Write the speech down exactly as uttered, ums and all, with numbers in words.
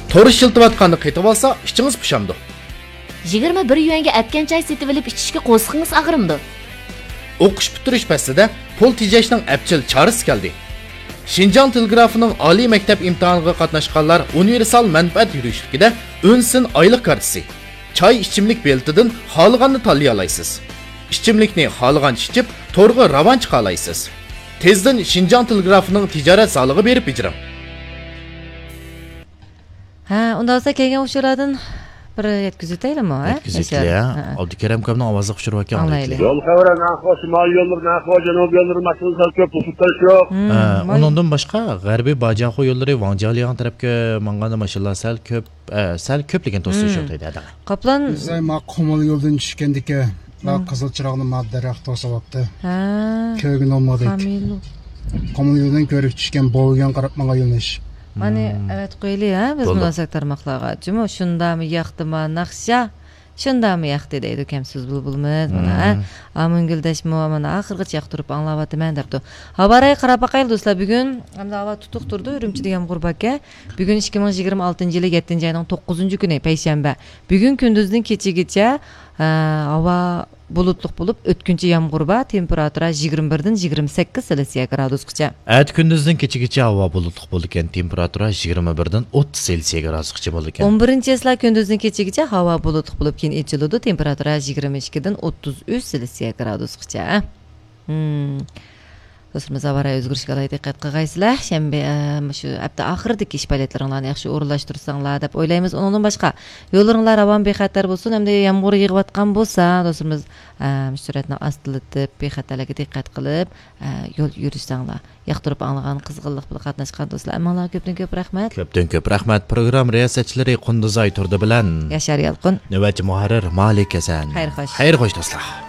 تور ئىشلىتىۋاتقاندا قېتىۋالسا ئىچىڭىز پۇشامدۇ؟ يىگىرمە بىر يۈەنگە ئەتكەن چاي سېتىۋېلىپ ئىچىشكە قورسىقىڭىز ئاغرىمدۇ؟ ئوقۇش پۈتتۈرۈش پەسلىدە پۇل تېجەشنىڭ ئەپچىل چارىسى كەلدى. شىنجاڭ تېلېگرافىنىڭ ئالىي مەكتەپ ئىمتىھانىغا قاتناشقانلار ئۇنىۋېرسال مەنپەئەت يۈرۈشلۈكىدە ئۈن سىن ئايلىق كارتىسى، چاي ئىچىملىك بېلىتىدىن خالىغاننى تاللىيالايسىز. ئىچىملىكنى خالىغانچە ئىچىپ، تورغا راۋان چىقالايسىز. تېزدىن شىنجاڭ تېلېگرافىنىڭ تىجارەت زالىغا بېرىپ بېجىرىڭ. ھە، ئۇنداق بولسا كەلگەن ئۇچۇرلاردىن بىر يەتكۈزۈۋېتەيلىمۇ، ھە؟ يەتكۈزۈۋېتىلە، ياشار. ھە. ئابدۇكېرىم ئاكامنىڭ ئاۋازلىق ئۇچۇرى باركەن، ئاڭلايلى. ئاڭلايلى. يول خەۋىرى، نەقىش، شىمالىي يوللىرى، نەقىش، جەنۇبىي يوللىرى ماشىنا سەل كۆپ، توسۇپ تۇرۇش يوق. ھە، ئۇنىڭدىن باشقا، غەربىي باجاخو يوللىرى ۋاڭجيالياڭ تەرەپكە مانغاندا ماشىنىلار سەل كۆپ، ئە، سەل كۆپلىكىن توسۇش يوق دەيدۇ ھەدە. قاپلان. بىز مانا قۇمۇل يولدىن چۈشكەندىكى، مانا قىزىل چىراغنى مانا دەرەخ توسۇۋاپتۇ. ھە. كۆرگىلى بولمىدى. قۇمۇل يولدىن كۆرۈك چۈشكەن، بوۋىگەن قاراپ ماڭغان يۆنىلىش. مانى ئەۋەتىپ قويىلى، ھە، بىز مۇناسىۋەت تارماقلارغا. جۇمۇ، شۇنداقمۇ ياقتىما ناخشا؟ شۇنداقمۇ ياقتى دەيدۇ كەمسىز بۇلبۇلىمىز. مانا، ھە. ئامىنگۈل دەشمۇ، مانا، ئاخىرغىچە ياقتۇرۇپ ئاڭلاۋاتىمەن دەپتۇ. ھاۋا رايىغا قاراپ باقايلى دوستلار. بۈگۈن ئەمدى ھاۋا تۇتۇق تۇرىدۇ، ئۈرۈمچىدە يامغۇر باركەن. بۈگۈن ئىككى مىڭ يىگىرمە ئالتىنچى يىلى يەتتىنچى ئاينىڭ توققۇزىنچى كۈنى، پەيشەنبە. بۈگۈن كۈندۈزدىن كېچىگىچە، ئە، ھاۋا بۇلۇتلۇق بولۇپ، ئۆتكۈنچى يامغۇر بار، تېمپېراتۇرا يىگىرمە بىردىن يىگىرمە سەككىز سېلسىيە گرادۇسقىچە. ئەتە كۈندۈزدىن كېچىگىچە ھاۋا بۇلۇتلۇق بولىدىكەن، تېمپېراتۇرا يىگىرمە بىردىن ئوتتۇز سېلسىيە گرادۇسقىچە بولىدىكەن. ئون بىرىنچى چېسلا كۈندۈزدىن كېچىگىچە ھاۋا بۇلۇتلۇق بولۇپ، كېيىن ئېچىلىدۇ، تېمپېراتۇرا يىگىرمە ئىككىدىن ئوتتۇز ئۈچ سېلسىيە گرادۇسقىچە. ھىم. دوستلىرىمىز، ھاۋا رايى ئۆزگىرىشىگە ئالاھىدە دىققەت قىلغايسىلەر. شەنبە، ئە، مۇشۇ ھەپتە ئاخىرىدىكى ئىش پائالىيەتلىرىڭلارنى ياخشى ئورۇنلاشتۇرساڭلار دەپ ئويلايمىز. ئۇنىڭدىن باشقا، يوللىرىڭلار راۋان، بىخەتەر بولسۇن. ئەمدى يامغۇر يېغىۋاتقان بولسا، دوستلىرىمىز، ئە، مۇشۇ سۈرئەتنى ئاستىلىتىپ، بىخەتەرلىككە دىققەت قىلىپ، ئە، يول يۈرسەڭلار. ياقتۇرۇپ ئاڭلىغان، قىزغىنلىق بىلەن قاتناشقان دوستلار، ھەممىڭلارغا كۆپتىن كۆپ رەھمەت. كۆپتىن كۆپ رەھمەت. پروگرامما رىياسەتچىلىرى قۇندۇزئاي تۇردى بىلەن ياشار يالقۇن. نۆۋەتچى مۇھەررىر مالىك ھەسەن. خەير خوش. خەير خوش، دوستلار.